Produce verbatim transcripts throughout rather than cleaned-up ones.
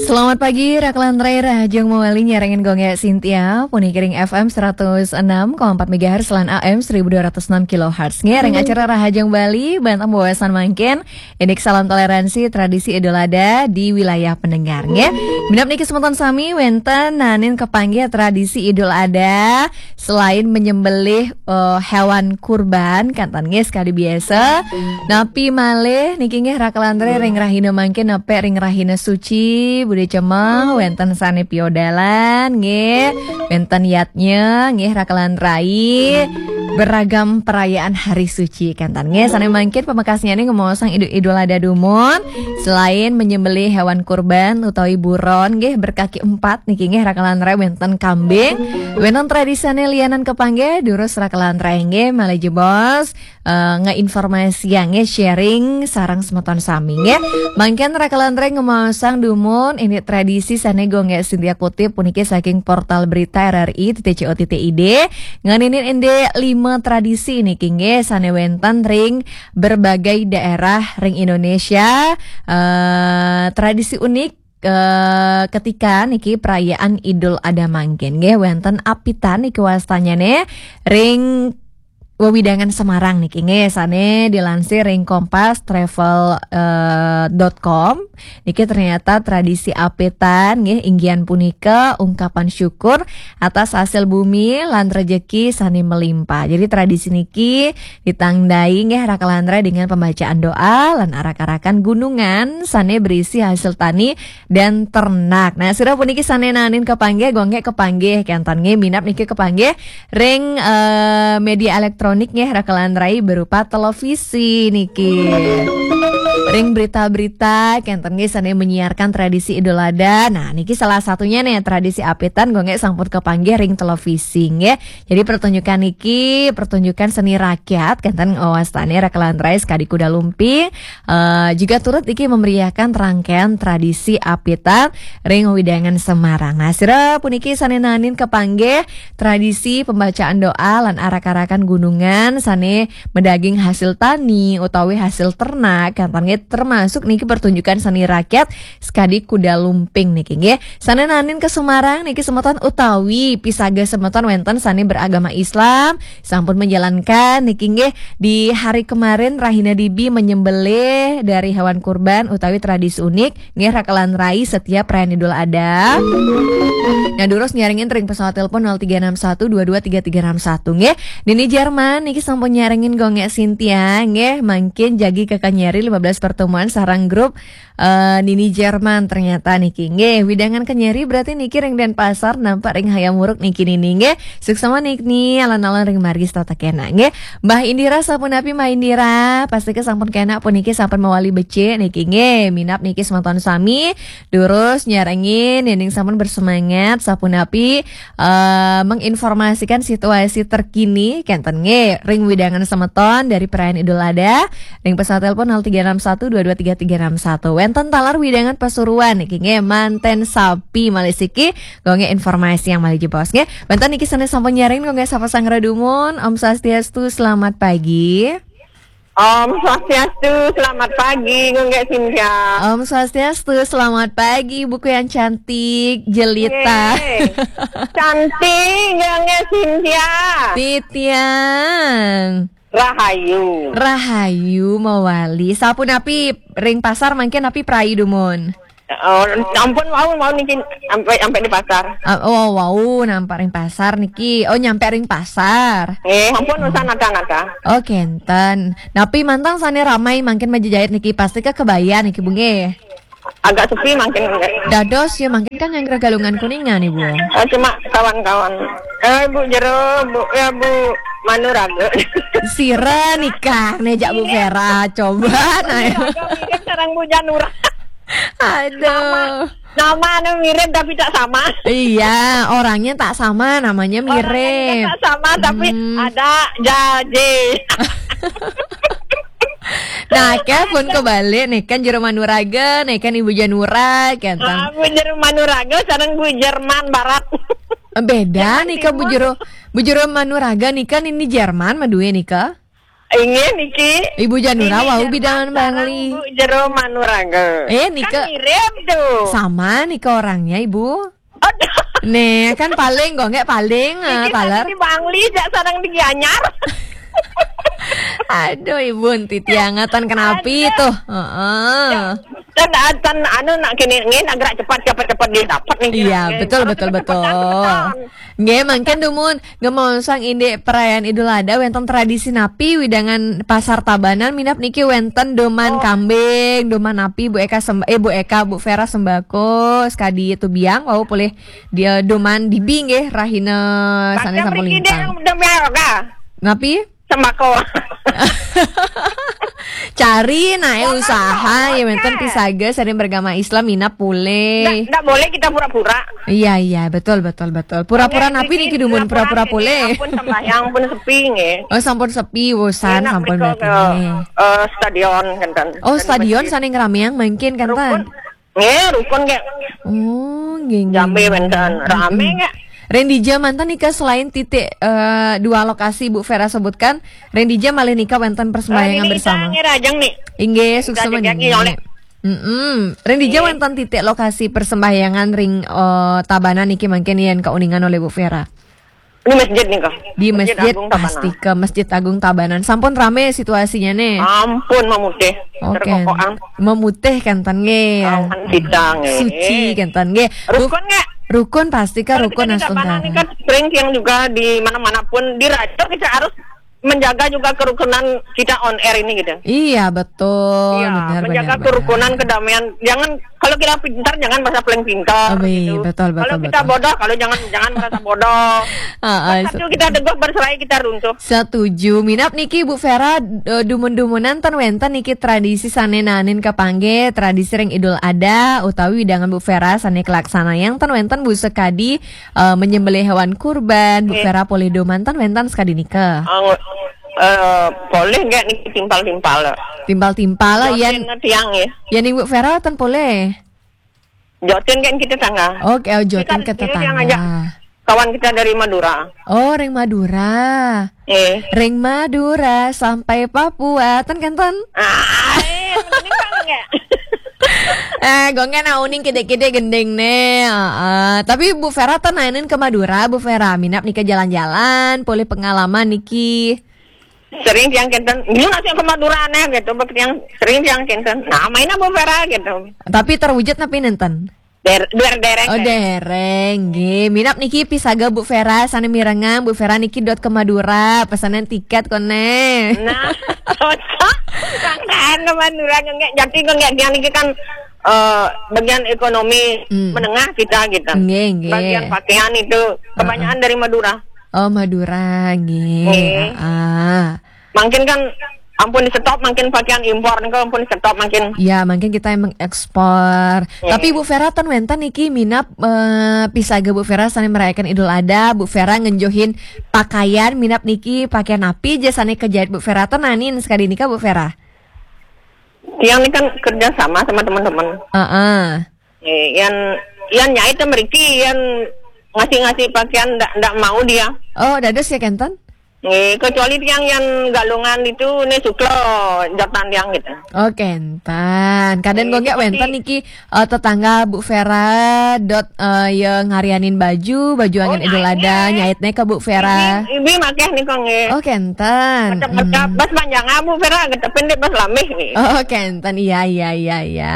Selamat pagi, Raklan Rai Rahajeng Mawali nyarengin Gongge Sintia, puniki ring F M seratus enam koma empat megahertz lan A M seribu dua ratus enam kilohertz. Nggih, ring acara Rahajeng Bali, banten wewasan mangkin, indik salam toleransi tradisi Idul Adha di wilayah pendengar, nggih. Minab niki semeton sami wenten nanin kepanggih tradisi Idul Adha, selain menyembelih, eh, hewan kurban, kanten nggih sekadi biasa. Napi malih niki nggih Raklan Rai ring rahina mangkin nepek ring rahina suci, Budi Cemeng, wenten sane piodalan, nggih. Wenten yatnya, nggih Raklan Rai. Beragam perayaan hari suci, kanten nggih. Sane mangkin pamekasnyane ngemaosang Idu-, Idul Adha dumun, selain menyembelih hewan kurban utawi buron, nggih, berkaki empat niki nggih Raklan Rai wenten kambing. Wenten tradisane lianan kepanggih, durus Raklan Rai nggih, malih jebos, eh, ngeinformasiang nggih, sharing sareng semeton sami nggih. Mangkin Raklan Rai ngemaosang dumun indik tradisi sane Gongge Sintia kutip puniki saking portal berita R R I titik co titik I D. Ngeninin indik lima tradisi niki nggih sane wenten ring berbagai daerah ring Indonesia. Eh, tradisi unik, eh, ketika niki perayaan Idul Adha mangkin nggih wenten apitan niki wastanyane ring wewidangan Semarang niki nggih sane dilansir ring kompas travel, eh, dot com. Niki ternyata tradisi apitan nggih inggihan punika ungkapan syukur atas hasil bumi lan rejeki sane melimpah. Jadi tradisi niki ditandai nggih Raklan Rai dengan pembacaan doa lan arak-arakan gunungan sane berisi hasil tani dan ternak. Nah, sira puniki sane nanin kepanggih, Gongge kepanggih, kanten nggih minab niki kepanggih ring, eh, media elektronik nggih Raklan Rai berupa televisi niki. Ring berita-berita, kanten nggih sane menyiarkan tradisi Idul Adha. Nah, niki salah satunya nih tradisi apitan Gongge sampun kepanggih ring televisi nggih. Jadi pertunjukan niki, pertunjukan seni rakyat, kanten wastane Raklan Rai sekadi kuda lumping, eh, juga turut iki memeriahkan rangkaian tradisi apitan ring wewidangan Semarang. Nah, sira puniki sane nanin kepanggih tradisi pembacaan doa lan arak-arakan gunungan sane medaging hasil tani utawi hasil ternak, kanten nggih termasuk niki pertunjukan seni rakyat sekadi kuda lumping niki nggih. Sane nanin ke Semarang niki semeton utawi pisaga semeton wenten sane beragama Islam, sampun menjalankan niki nggih di hari kemarin rahina dibi menyembelih dari hewan kurban utawi tradisi unik nggih Raklan Rai setiap perayaan Idul Adha. Nah, durus nyarengin ring pesawat telepon nol tiga enam satu dua dua tiga tiga enam satu nggih. Nini Jerman niki sampun nyarengin Gongge Sintia nggih, mangkin jagi kakanyeri lima belas pertemuan sareng grup, eh, Nini Jerman ternyata niki nggih. Wewidangan kanyeri berarti niki ring Denpasar nampak ring Hayam Wuruk niki nini nggih. Suksma niki alon-alon ring margi setata kena nggih. Mbah Indira sapunapi Mbah Indira, pastika sampun kena puniki sampun mawali becik niki nggih. Minab niki semeton sami durus nyarengin dening sampun bersemangat sapunapi, eh, menginformasikan situasi terkini kanten nggih ring wewidangan semeton dari perayaan Idul Adha ring pesawat telepon nol tiga enam satu dua dua tiga tiga enam satu. Wenten taler wewidangan Pasuruan niki nggih, manten sami malih siki Gongge informasi yang malih jebos nggih. Wenten niki sane sampun nyarengin Gongge sapa sang dumun. Om Swastiastu, selamat pagi. Om Swastiastu, selamat pagi, Gongge Sintia. Om Swastiastu, selamat pagi, buku yang cantik, jelita. Yeay. Cantik, Gongge Sintia. Titiang. Rahayu. Rahayu mawali. Sapunapi ring pasar mangkin napi prai dumun? Oh, ampun, wau, wau niki sampai, sampai di pasar. Ah, oh, wau, nampak ring pasar niki. Oh, nyampe ring pasar. Eh, ampun, usah nata-nata. Oh, kenten. Napi manten sane ramai mangkin majejait niki, pastika kebaya niki, Bu, nggih. Agak sepi mangkin, nggih. Dados ya mangkin kan nyanggra Galungan Kuningan, Ibu. Eh, cuma kawan-kawan. Eh, Bu Jero, Bu, ya, Bu Manuraga. Sira nikah ne jak Bu Vera, coba nah. Mirip sareng Bu Janura. Aduh. Nama anu mirip tapi tak sama. Iya, orangnya tak sama, namanya mirip. Orangnya tak sama, tapi ada jaje. Nah, kan pun kebalik nih, kan Jero Manuraga, nih kan Ibu Janura, kan. Ah, Bu Jero Manuraga sareng Bu Jerman Barat. Beda nih, kan Bu Jero, Bu Jero Manuraga nih kan ini Jerman madue nih, kan. Inggih niki. Ibu Janura wau bidangan Bangli. Bu Jero Manuraga. Eh, nika. Kan mirip tuh. Sama nika orangnya, Ibu. Aduh. Nih, kan paling kok nggak paling, ah, Niki paler. Tadi di Bangli, jak sarang di Gianyar. Aduh, Ibu, enti tiangatan kenapi tuh. Heeh. Dan, dan anu nak kini, ngin agak cepat, cepat, cepat dia dapat nih. Iya, betul, betul, betul. Nggih, mangkin dumun, ngemaosang indik perayaan Idul Adha wénten tradisi napi widangan Pasar Tabanan minab niki wénten doman kambing, doman napi Bu Eka Semb-, eh, Bu Eka, Bu Vera Sembako, sekadi itu biang wau polih dia doman dibi nggih rahina sané sampun lintang. Napi? Sembako. Cari naé usaha ya wénten pisaga sané beragama Islam minab polih. Ndak, ndak boleh kita pura-pura. Iya, iya, betul, betul, betul. Pura-pura napi niki dumun pura-pura polih. Ampun sembahyang pun sepi nggih. Oh, sampun sepi, bosan, sampun berarti nggih. Eh, stadion kan. Oh, stadion sané ngerameang mangkin kan, Tan? Nggih, rukun nggih. Oh, nggih, nggih. Jambe wénten, rame nggih. Rendija manten nika selain titik, eh, dua lokasi Bu Vera sebutkan, Rendija malih nika wénten persembahyangan bersama. Nggih, rajang nih. Inggih, suksma niki. Mm-mm. Rendija wénten titik lokasi persembahyangan ring, eh, Tabanan niki mangkin yén kauningan olih Bu Vera. Di masjid nih kok. Di Masjid Agung Tabanan. Pasti ke Masjid Agung Tabanan. Sampun rame situasinya nih. Ampun memutih. Oke. Terkokokan. Memutih kan, Tan, nggih. Awan sidang, eh. Suci kan, Tan, nggih. Rukun nggak? Rukun pasti ke rukun astungkara. Kan sering yang juga di mana-mana pun di radio kita harus menjaga juga kerukunan kita on air ini gitu. Iya, betul. Iya, benar, menjaga benar, kerukunan, benar. Kedamaian. Jangan, kalau kita pintar jangan merasa paling pintar. Betul, betul, betul. Kalau kita bodoh, kalau jangan jangan merasa bodoh. Heeh, satu kita teguh, berserai kita runtuh. Setuju. Minab niki Bu Vera, eh, dumun-dumunan ten wénten niki tradisi sané naenin kapanggih tradisi ring Idul Adha utawi widangan Bu Vera sané kalaksanayang ten wénten Bu sekadi, eh, menyembelih hewan kurban, Bu Vera polih dumun ten wénten sekadi nika. Eh, polih nggak niki timpal-timpal. Timpal-timpal lah, yén tiang ya. Yén Ibu Vera ten polih. Jotin kan kita tangga. Oke, oh, jotin ke tetangga. Kawan kita dari Madura. Oh, ring Madura. Eh. Ring Madura sampai Papua, ten kan, Tan? Ah, eh, mending kan nggak? Eh, gue nggak nauning kide-kide gending nih. Heeh. Tapi Bu Vera ten naenin ke Madura, Bu Vera. Minab nika jalan-jalan, polih pengalaman niki. Sering tiang kenten, ini masih ke Madura nih gitu, bek tiang sering tiang kenten. Nah, mainnya Bu Vera gitu. Tapi terwujud napi nénten? Der, der, dereng. Oh, dereng, nggih. Minab niki pisaga Bu Vera, sané mirengang, Bu Vera niki dot ke Madura, pesanan tiket koné. Nah, cocok. Sangkaan ke Madura, nggak, jadi nggak, dia niki kan, eh, bagian ekonomi menengah kita gitu. Nggih, nggih. Bagian pakaian itu kebanyakan dari Madura. Oh, Madura, nggih. Nggih. Heeh. Mungkin kan ampun di-stop, mungkin pakaian impor niku ampun di-stop mungkin. Ya, mungkin kita yang mengekspor. Tapi Bu Vera ten wénten niki minab, eh, pisaga Bu Vera sané merayakan Idul Adha, Bu Vera ngenjuhin pakaian minab niki pakaian napi ja sané kejait Bu Vera ten naenin sekadi nika Bu Vera? Tiang ini kan kerja sama sama teman-teman. Heeh. Eh, yang yang nyait mriki yang ngasih-ngasih pakaian ndak ndak mau dia. Oh, dados ya kenten? Eh, kecuali tiang yang galungan itu nih suklo jatan tiang gitu. Oh, kenten. Kadén kok nggak wénten niki, eh, tetangga Bu Vera dot, eh, yang ngarianin baju, baju angin Idul Adha, nyaitnya ke Bu Vera. Ibi, ibi makeh nih kok nggih. Oh, kenten. Macam-macam. Bas panjang Bu Vera, agak pendek bas lambih nggih. Oh, kenten. Iya, iya, iya, iya.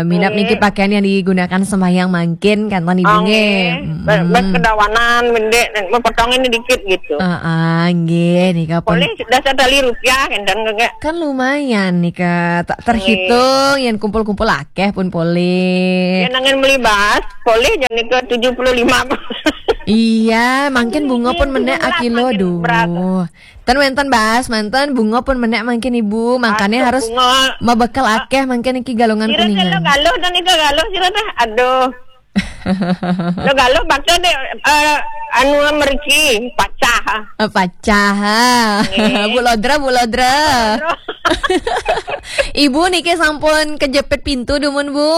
Minab niki pakaian yang digunakan sembahyang mangkin, kenten Ibu nggih. Bas, bas kedawanan, mendek, potongin dikit gitu. Heeh, nggih, nika pun. Polih sudah satali rupiah, kenten nggih. Kan lumayan nika, tak terhitung, yang kumpul-kumpul akeh pun polih. Ya, nangen beli bas, polih jadi ke tujuh puluh lima. Iya, mungkin bunga pun menek akilo, duh. Ten wénten bas, manten bunga pun menek mangkin Ibu, makanya harus mabekal akeh mangkin niki galungan kuningan. Lo galuh dan nika galuh sira teh. Aduh. Lo galuh bakso deh, eh, anu mriki pacah. Eh, pacah. Bu Lodra, Bu Lodra. Ibu niki sampun kejepit pintu dumun, Bu.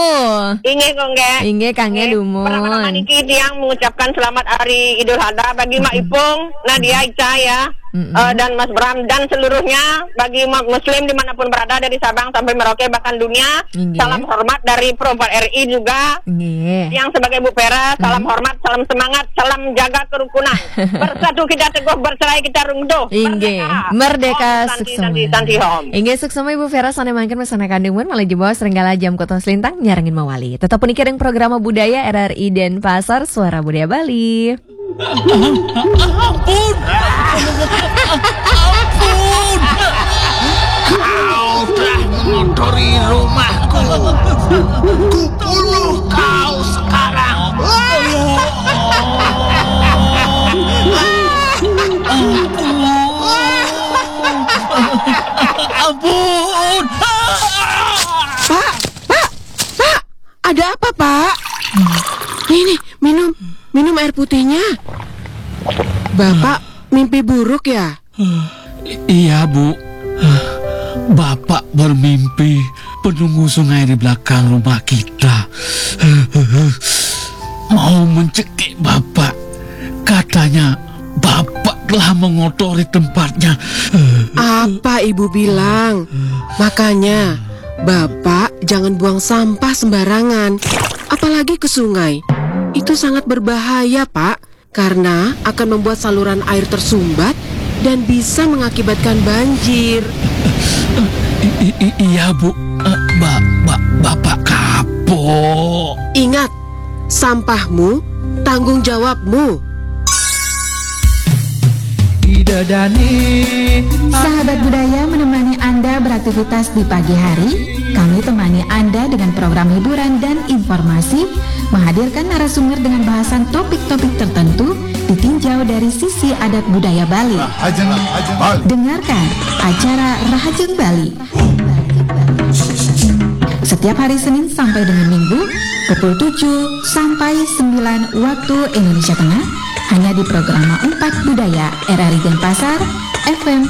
Inggih, kok, nggih. Inggih, kangge dumun. Pertama-tama niki tiang mengucapkan selamat hari Idul Adha bagi Mak Ipung, Nadia, Ica, ya, eh, dan Mas Bram dan seluruhnya bagi umat muslim dimanapun berada dari Sabang sampai Merauke bahkan dunia. Inggih. Salam hormat dari Pro empat R I juga. Inggih. Yang sebagai Bu Vera, salam hormat, salam semangat, salam jaga kerukunan. Bersatu kita teguh, bercerai kita runtuh. Inggih. Merdeka. Merdeka, Om Santi, suksema. Santi, Santi, Om. Inggih, suksema Ibu Vera, sane mangkin mesana kandumun, malih jebos ring galah jam kutus lintang nyarengin mawali. Tetep puniki ring programa budaya R R I Denpasar, Suara Budaya Bali. Ampun. Ampun. Kau telah mengotori rumahku. Kubunuh kau sekarang. Ampun. Ampun. Pak, Pak, Pak, ada apa, Pak? Nih, nih, minum, minum air putihnya. Bapak mimpi buruk ya? I- iya, Bu. Bapak bermimpi penunggu sungai di belakang rumah kita mau mencekik Bapak. Katanya Bapak telah mengotori tempatnya. Apa Ibu bilang? Makanya, Bapak jangan buang sampah sembarangan, apalagi ke sungai. Itu sangat berbahaya, Pak, karena akan membuat saluran air tersumbat dan bisa mengakibatkan banjir. I- i- iya, Bu. Eh, ba- ba- Bapak kapok. Ingat, sampahmu tanggung jawabmu. Sahabat budaya menemani Anda beraktivitas di pagi hari. Kami temani Anda dengan program hiburan dan informasi, menghadirkan narasumber dengan bahasan topik-topik tertentu, ditinjau dari sisi adat budaya Bali. Dengarkan acara Rahajeng Bali. Setiap hari Senin sampai dengan Minggu, pukul tujuh sampai sembilan waktu Indonesia Tengah, hanya di Programa empat Budaya R R I Denpasar, F M